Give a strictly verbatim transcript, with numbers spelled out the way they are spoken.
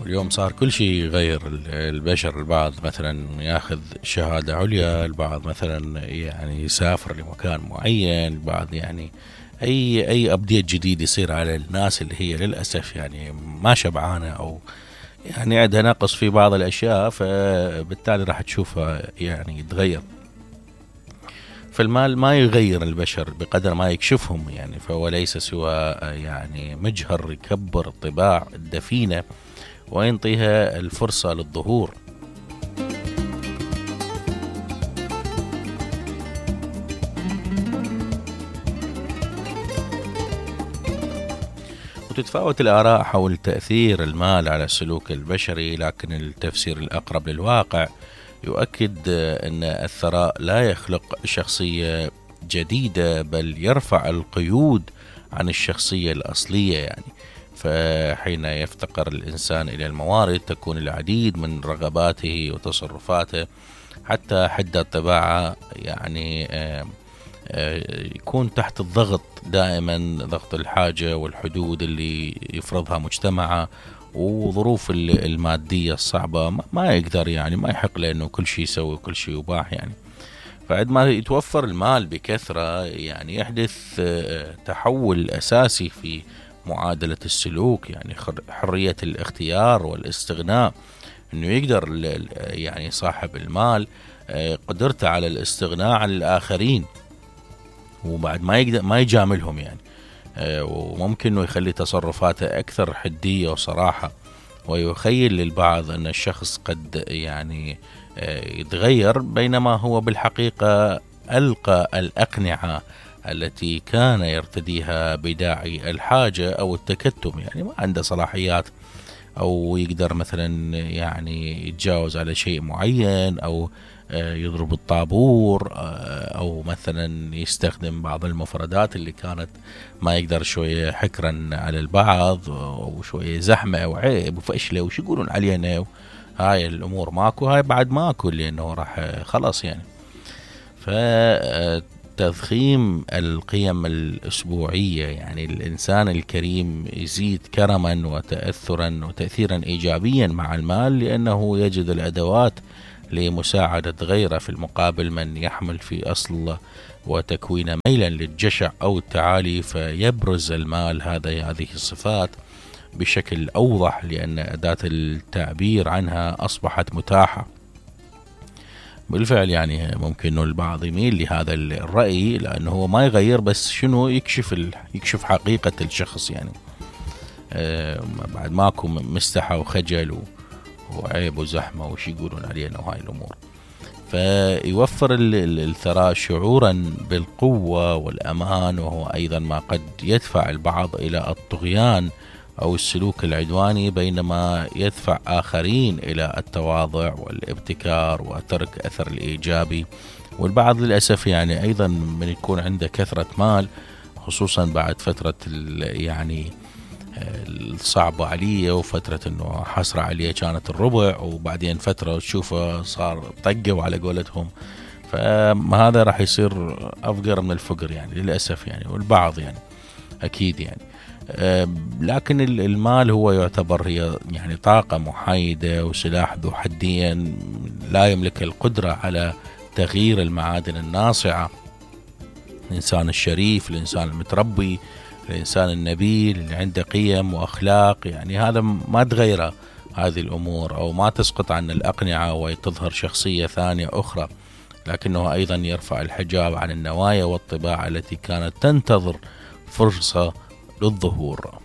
واليوم صار كل شيء يغير البشر. البعض مثلا ياخذ شهادة عليا، البعض مثلا يعني يسافر لمكان معين، البعض يعني اي اي ابديت جديد يصير على الناس اللي هي للاسف يعني ما شبعانة او يعني عندها نقص في بعض الاشياء، فبالتالي راح تشوفها يعني يتغير. فالمال ما يغير البشر بقدر ما يكشفهم يعني، فهو ليس سوى يعني مجهر يكبر الطباع الدفينة وينطيها الفرصة للظهور. وتتفاوت الآراء حول تأثير المال على السلوك البشري، لكن التفسير الأقرب للواقع يؤكد أن الثراء لا يخلق شخصية جديدة، بل يرفع القيود عن الشخصية الأصلية يعني. فحين يفتقر الإنسان إلى الموارد تكون العديد من رغباته وتصرفاته حتى حد الطباعة يعني يكون تحت الضغط دائما، ضغط الحاجة والحدود اللي يفرضها مجتمعه وظروف المادية الصعبة، ما يقدر يعني ما يحق له انه كل شيء يسوي وكل شيء يباح يعني. فعندما يتوفر المال بكثرة يعني يحدث تحول أساسي في معادلة السلوك، يعني حرية الاختيار والاستغناء، انه يقدر يعني صاحب المال قدرته على الاستغناء عن الآخرين وبعد ما يقدر ما يجاملهم يعني، وممكن انه يخلي تصرفاته اكثر حدية وصراحة، ويخيل للبعض ان الشخص قد يعني يتغير، بينما هو بالحقيقة ألقى الأقنعة التي كان يرتديها بداعي الحاجة أو التكتم، يعني ما عنده صلاحيات أو يقدر مثلا يعني يتجاوز على شيء معين أو يضرب الطابور أو مثلا يستخدم بعض المفردات اللي كانت ما يقدر، شوية حكرا على البعض وشوية زحمة أو عيب وفشلة وش يقولون علينا، هاي الأمور ماكو، هاي بعد ماكو لأنه راح خلاص يعني. فتضخيم القيم الأسبوعية يعني الإنسان الكريم يزيد كرما وتأثرا وتأثيرا إيجابيا مع المال، لأنه يجد الأدوات لمساعدة غيره، في المقابل من يحمل في أصل وتكوين ميلا للجشع أو التعالي فيبرز المال هذا هذه الصفات بشكل أوضح، لأن أداة التعبير عنها أصبحت متاحة. بالفعل يعني ممكن أنه البعض يميل لهذا الرأي لأنه هو ما يغير، بس شنو يكشف ال... يكشف حقيقة الشخص يعني. آه بعد ماكو مستحى وخجل و... وعيب وزحمة وش يقولون علينا وهاي الأمور. فيوفر الثراء شعورا بالقوة والأمان، وهو أيضا ما قد يدفع البعض إلى الطغيان أو السلوك العدواني، بينما يدفع آخرين إلى التواضع والابتكار وترك أثر الإيجابي. والبعض للأسف يعني أيضا من يكون عنده كثرة مال، خصوصا بعد فترة يعني الصعبة عليه وفترة انه حسرة عليه كانت الربع، وبعدين فترة تشوفه صار طقوا على قولتهم، فهذا راح يصير أفقر من الفقر يعني للأسف يعني. والبعض يعني أكيد يعني لكن المال هو يعتبر هي يعني طاقة محايدة وسلاح ذو حدين، لا يملك القدرة على تغيير المعادن الناصعة. الإنسان الشريف، الإنسان المتربي، الإنسان النبيل اللي عنده قيم وأخلاق، يعني هذا ما تغيره هذه الأمور أو ما تسقط عن الأقنعة وتظهر شخصية ثانية أخرى، لكنه أيضا يرفع الحجاب عن النوايا والطباع التي كانت تنتظر فرصة للظهور.